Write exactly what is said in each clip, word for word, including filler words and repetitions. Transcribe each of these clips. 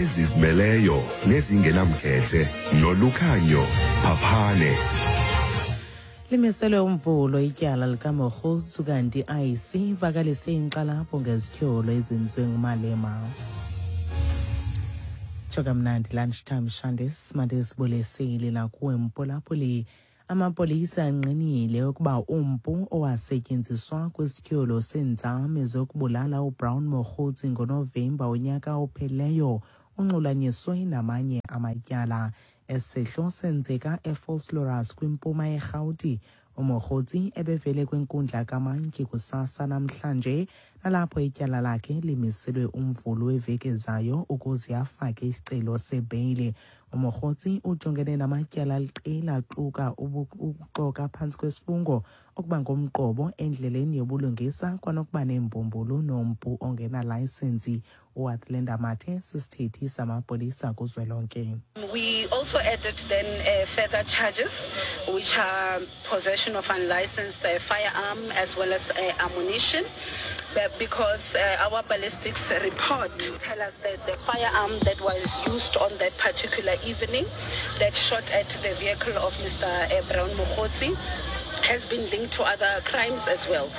Ezizimeleyo nezingenamkhethe noLukhanyo Phaphane. Limiselwe uMvulo ityala likaMogotsi, kanti I E C ivakalise inkxalabo ngezityholo ezenziwe nguMalema. Tsho kamnandi lunchtime shandis, mandisibulisile nakuwe mphulaphuli. Amapolisa angqinile ukuba umpu owasetyenziswa kwisityholo seenzame zokubulala uBrown Mogotsi ngoNovemba unyaka ophelileyo unxulanyiswe namanye amatyala. Esehlo senzeka eVosloorus kwimpuma yeRhawuti. UMogotsi ebevele kwinkundla kamantyi kusasa namhlanje, nalapho ityala lakhe limiselwe uMvulo weveki ezayo ukuze afake isicelo sebheyile. UMogotsi ujongene namatyala aliqela, aquka ukuxoka phantsi kwesifungo, ukuba ngumqobo endleleni yobulungisa, kwanokuba neembumbulu nompu ongenalayisensi. UAthlenda Mathe sisithethi samapolisa kuzwelonke. We also added then uh, further charges, which are possession of unlicensed uh, firearm as well as uh, ammunition. But because uh, our ballistics report tell us that the firearm that was used on that particular evening that shot at the vehicle of Mister Brown Mogotsi has been linked to other crimes as well.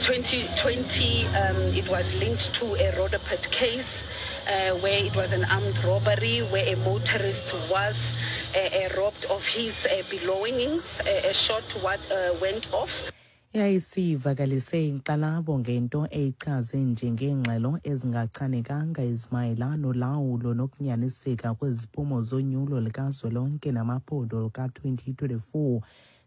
twenty twenty, um, it was linked to a Roodepoort case uh, where it was an armed robbery where a motorist was uh, uh, robbed of his uh, belongings. A, a shot what, uh, went off. I-I E C ivakalise inkxalabo ngento eyichaze njengeengxelo ezingachanekanga ezimayela nolawulo nokunyaniseka kweziphumo zonyulo likazwelonke namaphondo luka-twenty twenty-four.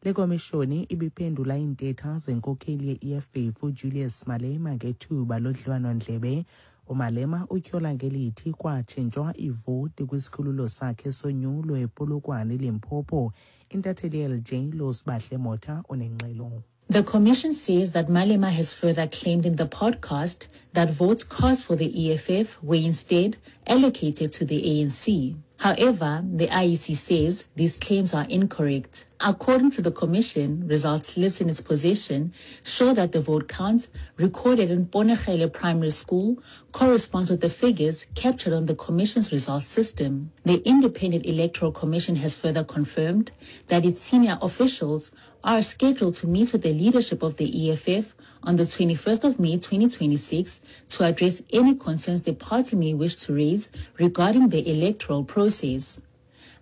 Le komishoni ibiphendula iintetha zenkokheli ye-E F F uJulius Malema ngethuba lodliwano-ndlebe. UMalema utyhola ngelithi kwatshintshwa ivoti kwisikhululo sakhe sonyulo ePolokwane, Limpopo. Intatheli ye-L J Losibahle Motha unengxelo. The commission says that Malema has further claimed in the podcast that votes cast for the E F F were instead allocated to the A N C. However, the I E C says these claims are incorrect. According to the commission, results slips in its possession show that the vote counts recorded in Ponegele Primary School corresponds with the figures captured on the commission's results system. The Independent Electoral Commission has further confirmed that its senior officials are scheduled to meet with the leadership of the E F F on the twenty-first of May twenty twenty-six to address any concerns the party may wish to raise regarding the electoral process.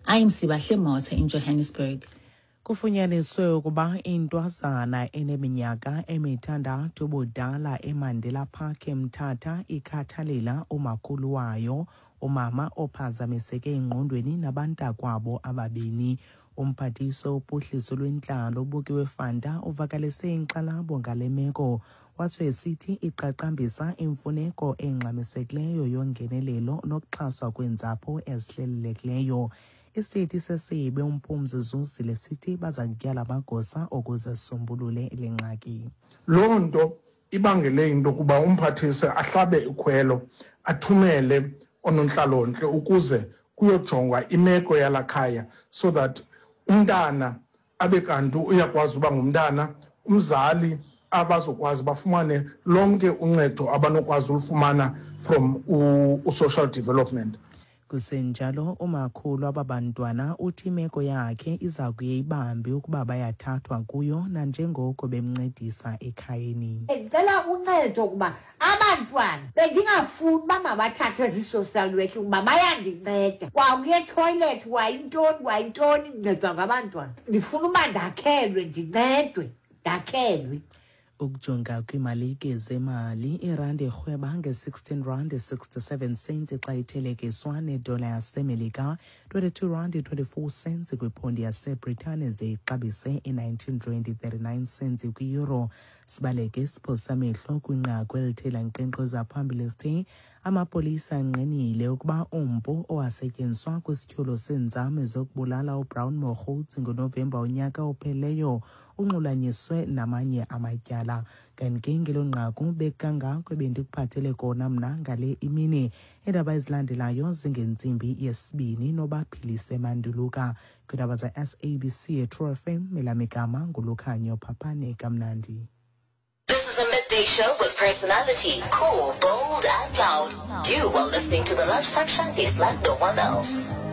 I am Sibahle Motha in Johannesburg. Kufunyaniswe ukuba intwazana eneminyaka emithandathu ubudala eMandela Park eMthatha ikhathalela umakhulu wayo, umama ophazamiseke engqondweni, nabantakwabo ababini. Umphathiswa wophuhliso lwentlalo uBukiwe Fanta uvakalise inkxalabo ngale meko, watsho esithi iqaqambisa imfuneko engxamisekileyo yongenelelo nokuxhaswa kweentsapho ezihlelelekileyo. Isithethi sesebe uMphumzi Zuzile sithi baza kutyala amagosa ukuze sisombulule le ngxaki. Loo nto ibangele into yokuba umphathise ahlabe ikhwelo, athumele oonontlalontle ukuze kuyojongwa imeko yalaa khaya so that umntana abe kanti uyakwazi uba ngumntana, umzali abazokwazi bafumane lonke uncedo abanokwazi ulufumana from u-social development. Kusenjalo, umakhulu aba bantwana uthi imeko yakhe iza kuye ibambe ukuba bayathathwa kuyo nanjengoko bemncedisa ekhayeni. Ndicela uncedo kuba abantwana bendingafuni uba mabathathwe zii-social work kuba bayandinceda. Kwakuye etoilet, wayintoni wayintoni, ndincedwa ngabantwana. Ndifuna uba ndakhelwe, ndincedwe, ndakhelwe. Ukujonga kwiimalike zemali, irandi irhweba nge-sixteen rand sixty-seven cents xa ithelekiswa nedola yaseMelika, twenty-two rand twenty-four cents kwiphondi yaseBritane, ze ixabise i-nineteen rand thirty-nine cents kwi-euro. Sibaleke siphosa amehlo kwinqaku elithe lankqenkqeza phambili sithe amapolisa angqinile ukuba umpu owasetyenziswa kwisityholo seenzame zokubulala uBrown Mogotsi ngoNovemba unyaka ophelileyo unxulanyiswe namanye amatyala. Kanti ke ngelo nqaku bekangako ebendikuphathele kona mna ngale imini. Iindaba ezilandelayo zingentsimbi yesibini noBaphilise Manduluka. Kwiindaba za-S A B C eTrue F M, elam igama nguLukhanyo Phaphane. Kamnandi. This This is a midday show with personality, cool, bold, and loud. You are listening to the Lunchtime Shanties like no one else.